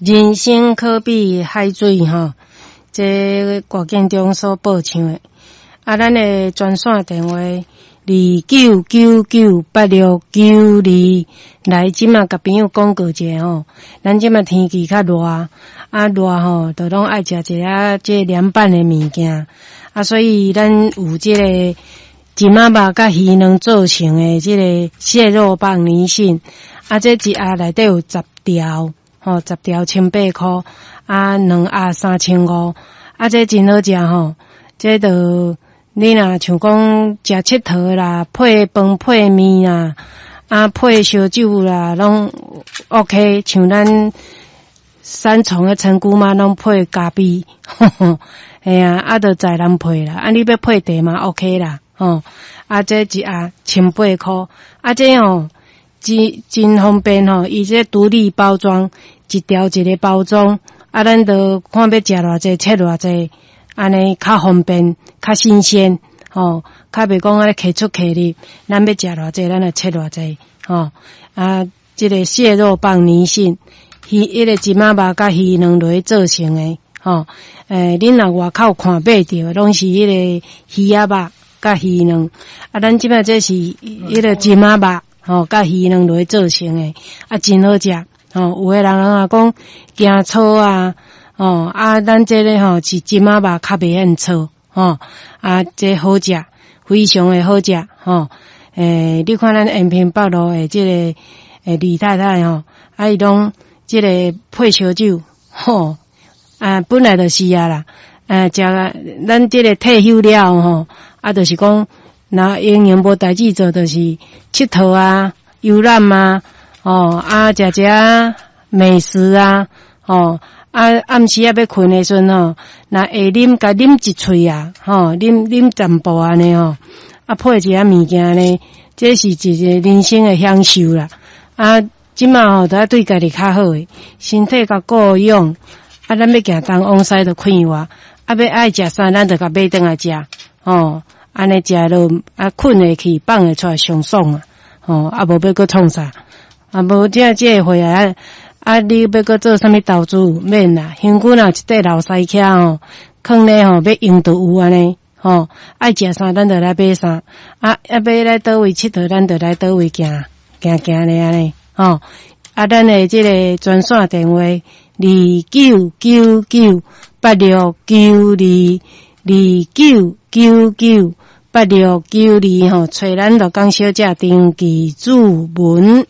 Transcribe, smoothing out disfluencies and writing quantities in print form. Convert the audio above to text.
人生可比海水吼，這郭建中所報唱的。啊，咱的專線電話29998692，來，這馬共朋友廣告一下吼。咱這馬天氣較熱，啊熱吼，就攏愛食一下這涼拌的物件。啊，所以咱有這個金仔肉佮魚卵做成的這個蟹肉棒泥蕈，啊，這一盒內底有十條，吼，十條千八箍，啊，兩盒3500，啊，這真好食吼，這就你若像講食𨑨迌啦，配飯配麵啦，啊，配燒酒啦，攏 OK。像咱三重的陳姑媽攏配咖啡，嘿啊，啊，就在人配啦，啊，你欲配茶嘛 OK 啦，吼，啊，這一盒千八箍，啊，這吼真真方便吼，伊這獨立包裝，一條一個包裝，啊，咱就看欲食偌濟，切偌濟，按呢較方便，較新鮮，吼，較袂講按呢提出提入，咱欲食偌濟，咱就切偌濟，吼，啊，這個蟹肉棒泥蕈，魚，彼個金仔肉佮魚卵落去做成的，吼，恁若外口看買著，攏是彼個魚仔肉佮魚卵，啊，咱這擺這是彼個金仔肉，吼，佮魚卵落去做成的，啊，真好食，吼，有的人啊講驚臊啊，吼，啊，咱這个吼是金仔肉較袂遐臊，吼，啊，這好食，非常的好食，吼，你看咱延平北路的這個李太太吼，啊，伊攏這個配燒酒，吼，啊，本來就是啊啦，啊，食咱這個退休了吼，啊，就是講，若閒閒無代誌做，就是𨑨迌啊、遊覽啊，吼，啊，食食美食啊，吼，啊，暗時仔欲睏的時陣吼，若會啉，共啉一喙啊，吼，啉啉淡薄按呢吼，啊，配一下物件呢，這是一個人生的享受啦。啊，這馬吼，都愛對家己較好的，身體較顧養，啊，咱欲行東往西就快活，啊，欲愛食啥，咱就共買轉來食，吼，按呢食落，啊，睏會去，放會出來上爽啊，吼，啊，無欲閣創啥，啊，無這這個會啊，啊，你欲閣做啥物投資，免啦，身軀若有一塊老師徛吼，囥咧吼，欲用就有按呢，吼，愛食啥咱就來買啥，啊，啊，欲來佗位𨑨迌，咱就來佗位行，行行咧按呢，吼，啊，咱的這個專線電話29998692，29998692吼，揣咱鹿港小姐陳紀主文。